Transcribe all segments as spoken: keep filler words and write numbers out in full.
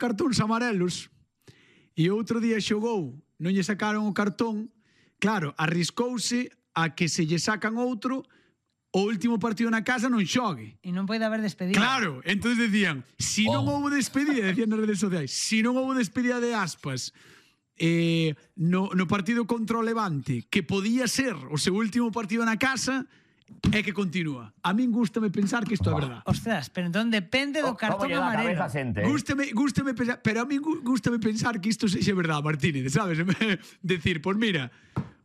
cartóns amarelos e outro día xogou, non lle sacaron o cartón, claro, arriscouse a que se lle sacan outro, o último partido na casa non xogue. E non pode haber despedida. Claro, entonces decían, si non Oh. houve despedida, decían nas redes sociais, si non houve despedida de Aspas eh, no, no partido contra o Levante, que podía ser o seu último partido na casa, é que continúa. A min gústame pensar que isto é verdad. Ostras, pero entón depende do cartón Como lle dá a amarelo. cabeza a xente? Gústame, gústame pensar, pero a mí gústame pensar que isto sexa verdad, Martínez, sabes? Decir, pois mira,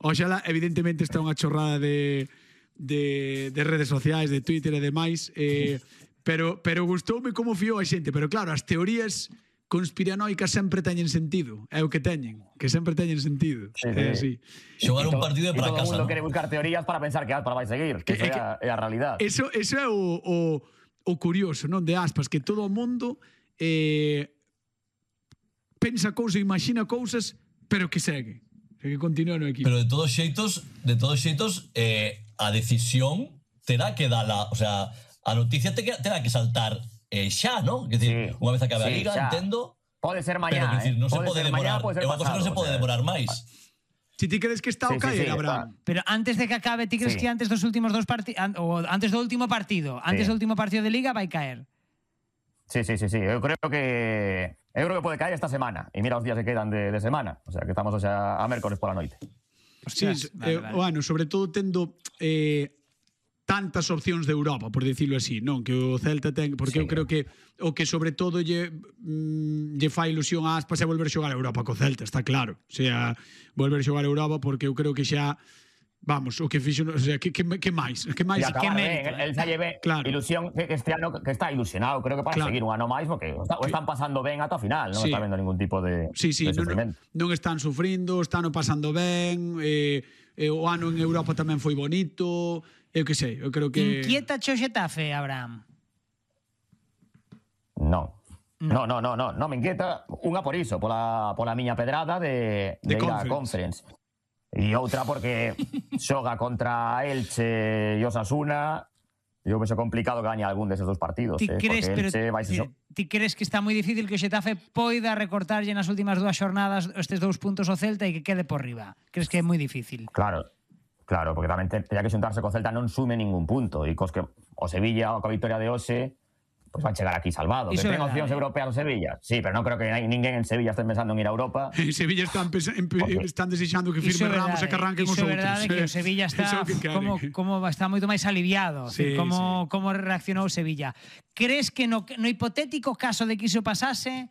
oxala, evidentemente está unha chorrada de, de, de redes sociais, de Twitter e demais, eh, pero, pero gustoume como fiou a xente, pero claro, as teorías conspiranoicas sempre teñen sentido, é o que teñen, que sempre teñen sentido. Sí, É sí. así. Xogar un to- partido y para todo o casa, mundo ¿no? quere buscar teorías para pensar que Aspas vai seguir, que Que- eso é, que- a, é a realidad. Eso, eso é o, o, o curioso, non, de Aspas, que todo o mundo eh, pensa cousas, imagina cousas, pero que segue, que continúa no equipo. Pero de todos xeitos, de todos xeitos, eh, a decisión terá que dala, o sea, a noticia te que- terá que saltar eh, xa, ¿no? Que decir, Sí, unha vez acabe a sí, liga, xa. entendo, Pode ser pero mañá, que decir, eh? non se Pode pode ser mañá, demorar, pode ser é unha cosa que non se pasado, pode o sea. demorar máis. Si ti crees que está Sí, o sí, caer, sí, Abraham. Pero antes de que acabe, ti crees Sí. que antes dos últimos dos partidos, ou antes do último partido, antes Sí. do último partido de Liga vai caer? Sí, sí, sí, sí. Eu creo que eu creo que pode caer esta semana. E mira os días que quedan de, de semana. O sea, que estamos o sea, a mércores pola noite. Sí, Ostras, eh, vale, vale. bueno, sobre todo tendo eh, tantas opcións de Europa, por decirlo así, non? Que o Celta ten, porque Sí. eu creo que o que sobre todo lle, mm, lle fai ilusión a Aspas é volver a xogar a Europa co Celta, está claro. O sea, volver a xogar a Europa porque eu creo que xa, vamos, o que fixo, o sea, que, que, que máis? Que máis? E acabar ben, mérito, el, el xa lle ve Claro. ilusión que este ano que está ilusionado, creo que para Claro. seguir un ano máis porque o, está, o están pasando ben ata o final, non Sí. está vendo ningún tipo de, Sí, sí, de non, non, sufrimento. non están sufrindo, están o pasando ben, eh, eh, o ano en Europa tamén foi bonito, eu que sei, eu creo que... Inquieta cho Xetafe, Abraham? No. No, no, no, no, no me inquieta unha por iso, pola, pola miña pedrada de, De de, ir á Conference. Conference. E outra porque xoga contra Elche e Osasuna. E eu vexo complicado que gañe algún deses dos partidos, Ti eh, crees, porque pero Elche vai ti, xo... ti crees que está moi difícil que o Xetafe poida recortarlle nas últimas dúas xornadas estes dous puntos ao Celta e que quede por riba? Crees que é moi difícil? Claro, claro, porque tamén teña que xuntarse co Celta non sume ningún punto. E cos que o Sevilla, coa victoria de hoxe, pois van chegar aquí salvado. Iso Que é ten verdade. opcións europeas o Sevilla. Sí, pero non creo que hai ninguén en Sevilla estén pensando en ir a Europa. En Sevilla están, pesa- en, Porque- están desexando que Iso firme é Ramos e verdade, que arranquen os iso é outros. verdade que o eh. Sevilla Eso está é o que queren. como, como está moito máis aliviado. Sí, como, como reaccionou Sevilla. Crees que no, no hipotético caso de que iso pasase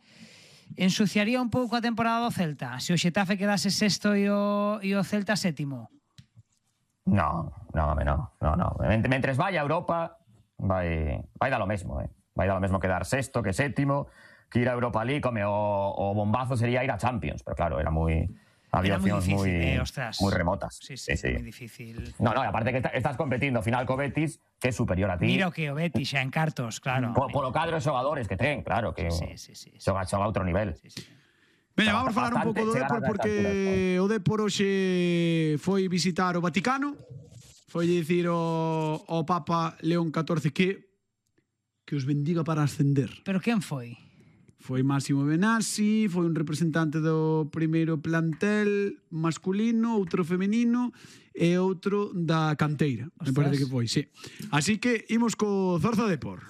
ensuciaría un pouco a temporada do Celta? Se o Xetafe quedase sexto e o, e o Celta sétimo? No, no, home, no, no, no. Ment- Mentres vaya a Europa, vai, vai dar lo mesmo, eh. Vai dar lo mesmo quedar sexto que sétimo, que ir a Europa League, come, o, o bombazo sería ir a Champions, pero claro, era moi... Había Era moi opcións difícil, moi, eh, ostras. moi remotas. Sí, sí, sí. moi difícil. No, no, e aparte que está- estás competindo final co Betis, que é superior a ti. Mira o que o Betis xa en cartos, claro. Po, polo cadro de xogadores que ten, claro, que Sí, sí, sí, sí. xoga, xoga a outro nivel. Sí, sí. Veña, vamos falar un Bastante pouco do chegar Depor a estas porque alturas, o Depor hoxe foi visitar o Vaticano, foi dicir ao, ao Papa León catorce que que os bendiga para ascender. Pero quen foi? Foi Máximo Benassi, foi un representante do primeiro plantel masculino, outro femenino e outro da canteira. Me Ostras. parece que foi, sí. Así que imos co Zorza Depor.